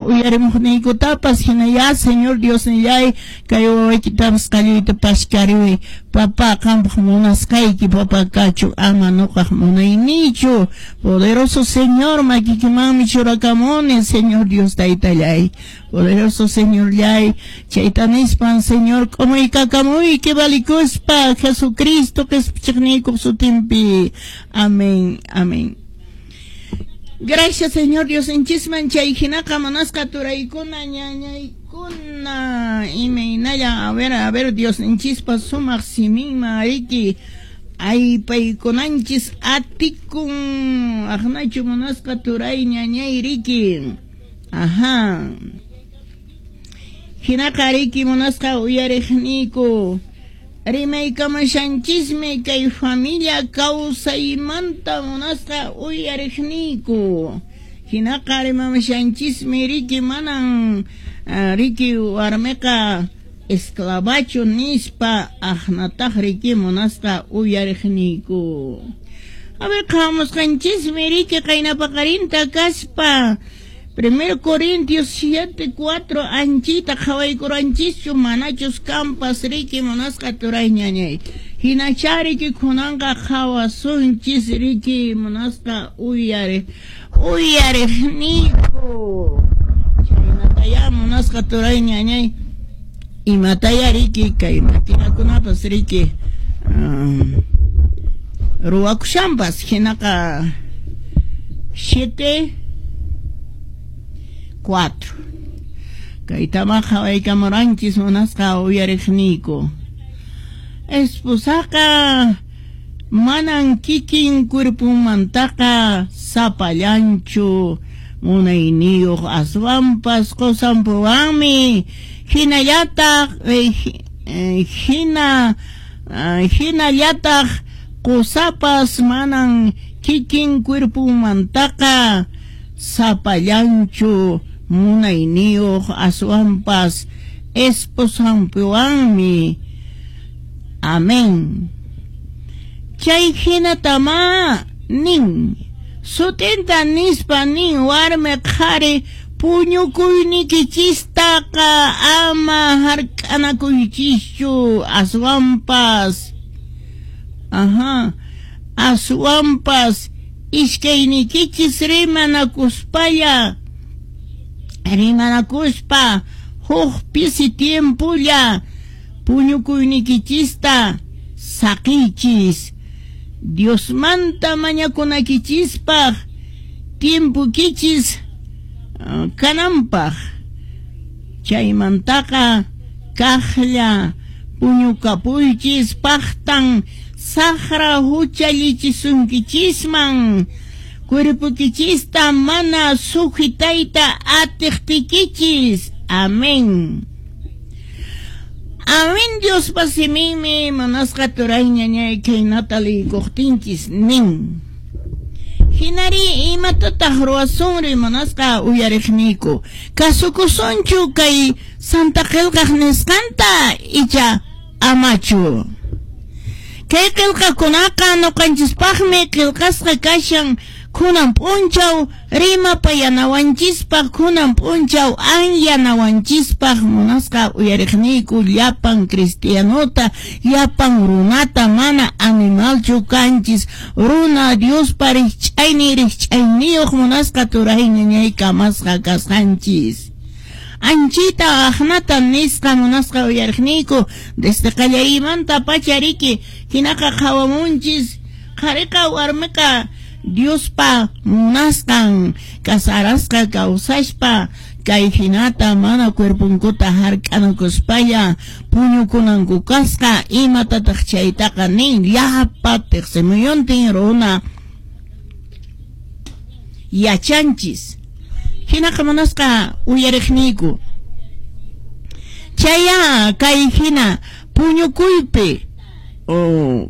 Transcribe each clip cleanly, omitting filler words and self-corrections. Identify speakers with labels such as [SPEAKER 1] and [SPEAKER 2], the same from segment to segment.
[SPEAKER 1] uyarimuqniykutapas hinaya Señor Diosnillay kay wawaykitapas qalluyta pashkariway papá qampaq munasqayki papá kachu ama nuqaq munayniychu poderoso Señor makikimanmi churakamuni Señor Dios taytallay poderoso Señorllay chayta nispan Señor k'umuykakamuyki valikuspa Jesucristo qispichiqniykuq sutinpi. Amén, amén. Gracias Señor Diosninchisman chay hinaqa munasqa turaykuna ñañaykuna imaynalla a ver Diosninchispa sumaq siminman riki aypaykunanchis atikun aqnachu munasqa turay ñañay riki. Ajá. Hinaqa riki munasqa uyariqniyku rimaykamashanchismi kay familia kawsaymanta munasqa uyariqniyku. Hinaqa rimamashanchismi riki manan riki warmiqa esclavachu nispa aqnataq riki munasqa uyariqniyku. A ver, qhawamusqanchismi riki qaynapaqarinta kaspa 1 Corintios 7, 4 anchita qhawaykuranchischu manachus kampas riki munasqa turay ñañay. Hinacha riki kunanqa qhawasunchis riki munasqa uyariqniyku. Chaynataya munasqa turay ñañay. Imataya riki kay maquinakunapas riki ruwakushanpas hinaqa 7 4 kaytama qhawaykamuranchis munasqa uyariqniyku. Esposaqa manan kikin cuerpunmantaqa sapallanchu munayniyuq aswanpas qusanpuwanmi hinallataq hinallataq qusapas manan kikin cuerpunmantaqa sapallanchu munayniyuq aswanpas esposanpiwanmi. Amén. Chay hinatama nin sutinta nispa nin warmi qhari puñukuynikichistaqa ama hark'anakuychischu aswanpas ajá aswanpas iskaynikichis rimanakuspalla rimanakuspa huk pisi tiempolla puñukuynikichista saqiychis Diosmanta mañakunakichispaq tiempokichis kananpaq chaymantaqa kaqlla puñukapuychis paqtan saqra huchallichisunkichisman cuerpokichista mana sujetayta atiqtikichis. Amén. Amén. Diospa siminmi munasqa turay ñañay khaynata liykuqtinchis nin. Hinari imatataq ruwasunri munasqa uyariqniyku kasukusunchu kay Santa Qillqaq nisqanta icha amachu. Kay qillqakunaqa ñuqanchispaqmi qillqasqa kashan kunan p'unchaw rimapayanawanchispaq kunan p'unchaw anyanawanchispaq munasqa uyariqniyku llapan cristianota llapan runata mana animalchu kanchis runa Diospa rikch'aynin rikch'ayniyuq munasqa turay ñañay kamasqa kasqanchis. Anchita aqnata nisqa munasqa uyariqniyku desde qallaymanta pacha riki hinaqa qhawamunchis qhariqa warmiqa Diospa munasqan kasarasqa kawsashpa kay hinata mana cuerpunkuta hark'anakuspalla puñukunanku kasqa imatataq chaytaqa nin llapa tiqsimuyuntin runa yachanchis. Hinaqa munasqa uyariqniyku chaya kay hina puñukuypi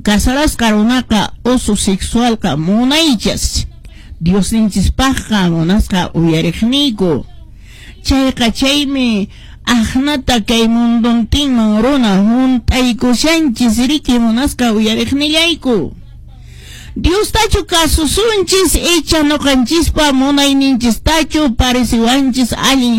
[SPEAKER 1] kasarasqa runaqa usu sexualqa munaychas Diosninchispaqqa munasqa uyariqniyku chayqa chaymi aqnata kay munduntinman runa hunt'aykushanchis riki munasqa uyariqnillayku. Diostachu kasusunchis icha ñuqanchispa munayninchistachu pareciwanchis allin.